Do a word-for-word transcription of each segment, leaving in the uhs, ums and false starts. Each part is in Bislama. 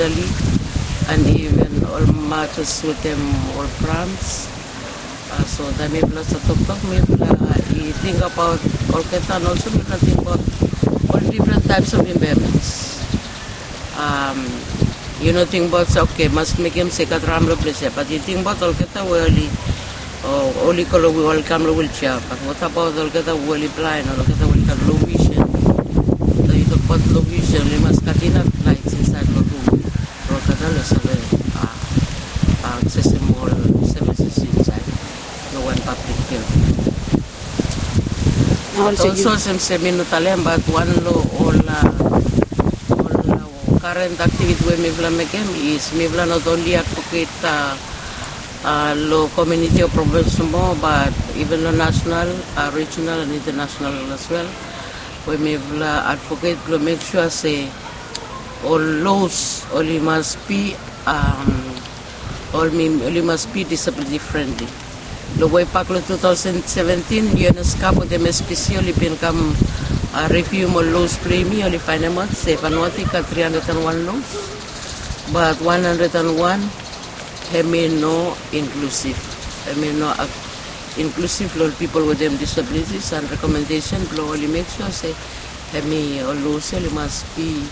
Italy, and even ol Marcus wetem ol France. Uh, so taem mifala stap toktok, mifala i tingbaot olgeta, and also mifala tingbaot ol different types of impairments. Um, yu no tingbaot se, okay, mas mekem se i gat ram lo ples ia, but yu tingbaot olgeta we oli, o, oli go lo, oli kam lo wheelchair, but what about olgeta we oli blind, olgeta we oli gat low vision? So yu tokbaot low vision, oli mas gat inaf light insaed lo rum blo olgeta oli save, uh, uh, aksesem ol services insaed lo wan public building. Olsem, olsem se mi no talem, but wan lo ol, uh, ol, uh, current activity we mifala mekem is mifala not only advocate, uh, uh, lo community o province nomo, but even lo national, uh, regional and international as well. We mifala advocate blo make sure se ol laws oli mas be, um, oli, oli mas be disability friendly. Lo way back lo two thousand seventeen, UNESCAP wetem SPC oli bin kam, uh, review ol laws blo yumi, oli faenemaot se Vanuatu i gat three hundred and one laws, but one hundred and one hemi no inclusive. Hemi no ac-, inclusive lo ol people wetem disabilities, and recommendation blo oli make sure se hemi ol laws ia oli mas be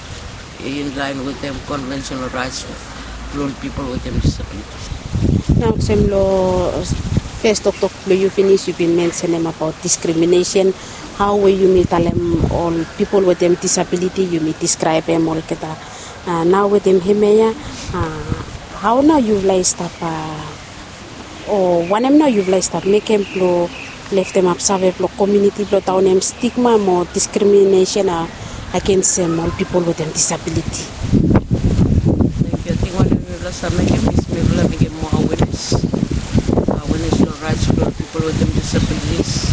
in line wetem conventional rights blo ol people wetem disabilities. Nao olsem lo fes toktok blo yu finis, yu bin mensenem abaot discrimination. Hao we yumi talem ol people wetem disability, yumi describem olgeta, uh, nao wetem hemia, uh, hao nao yufala i stap, uh, o wanem nao yufala i stap mekem blo leftemap save blo community blo daonem stigma mo discrimination, uh, agensem ol people wetem disability? Thank you. Ating wanem mifala save mekem is mifala mekem moa awareness. Awareness lo rights blo people wetem disabilities.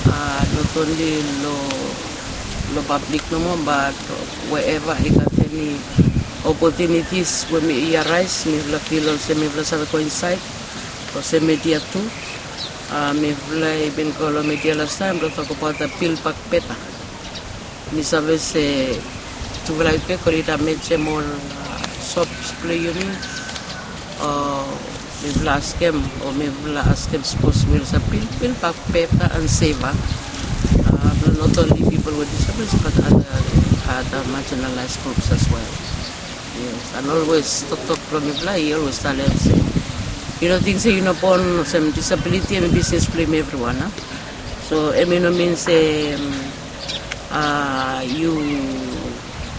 Uh, not only lo, lo public nomo, but wherever i gat eni opportunities we i arise, mifala feel olsem mifala save go insaed, olsem media tu. Uh, mifala i bin go lo media lastaem blo tokbaot ol Build Back Better. Mi save se tufala i bek oli damejem ol, uh, shops blo yumi. O mifala askem, o mifala askem sipos mifala save build, build back better and safer, uh, blo not only people with disabilities but other, other marginalized groups as well. Yes, and always toktok blo mifala i always talem se yu no ting se yu no bon olsem disability hemi bisnes blo yumi evriwan, a? So hemi no min se, um, uh, yu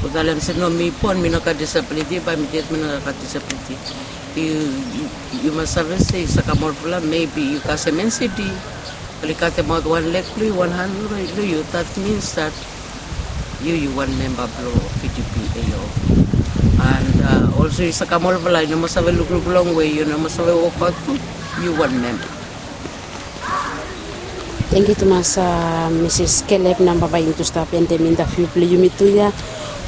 go talem se no, mi bon, mi no gat disability, bae mi ded mi no gat disability. Yu, yu, yu mas save se yu stap kam olfala, maybe yu kasem NCD, oli katemaot wan leg blo yu, wan han blo yu, that means that yu, yu wan memba blo VDP AO. And, uh, also yu stap kam olfala, yu no mas save lukluk longwe, yu no mas save wokbaot gud, yu wan memba. Tangkiu tumas, uh, Misis Kelep. Nao bae yumi tu stap endem interview blo yumi tu ia.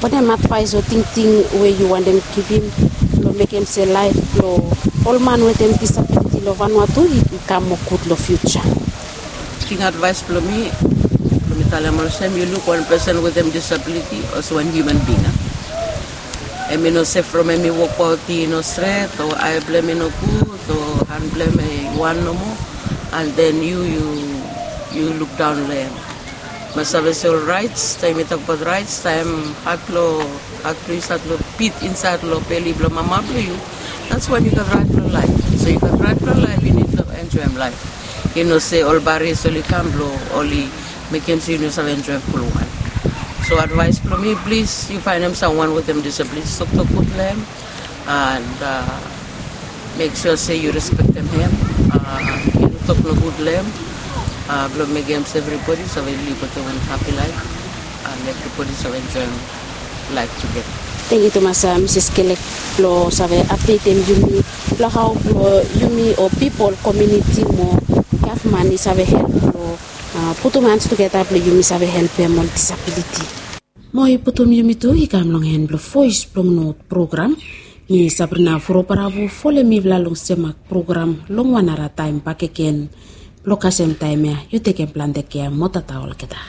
Wanem advaes o tingting we yu wantem givim blo mekem se laef blo ol man wetem disability lo Vanuatu i, i kam moa gud lo future? Ting advaes blo mi, blo mi talem olsem, yu luk wan pesen wetem disability olsem wan human being, a? Hemi no sef from hemi wokbaot i no stret, o ae blo hem i no gud, o han blo hem i wan nomo, and then yu, yu, yu lukdaon lo hem. Mas save se ol rights, taem yu tokbaot rights, taem hat blo, hat blo yu stat lo bit insaed lo beli blo mama blo yu, that's when yu gat right blo laef. So yu gat right blo laef, yu nid blo enjoem laef. Yu no se ol barriers oli kam blo oli mekem se yu no save enjoem fulwan. So advaes blo mi, plis yu faenem samwan wetem disability, toktok gud lo hem, and, uh, mek sua se yu respektem hem, uh, yu no tok nogud lo hem, uh, blo mekem se evribodi save liv wetem wan hapi laef, and evribodi save enjoem laef tugeta. Tangkiu tumas, uh, Misis Kelek, blo save apdetem yumi blo hao blo yumi o pipol, komuniti mo gavman i save help blo, uh, putum hans tugeta blo yumi save helpem ol disabiliti. Mo i putum yumi tu i kam long en blo Voes blong Not program. Mi Sabrina Furobaravu, folem mifala long semak program long wan nara taem bakegen. Blo kasem taem ia, yu tekem plante kea mo tata olgeta.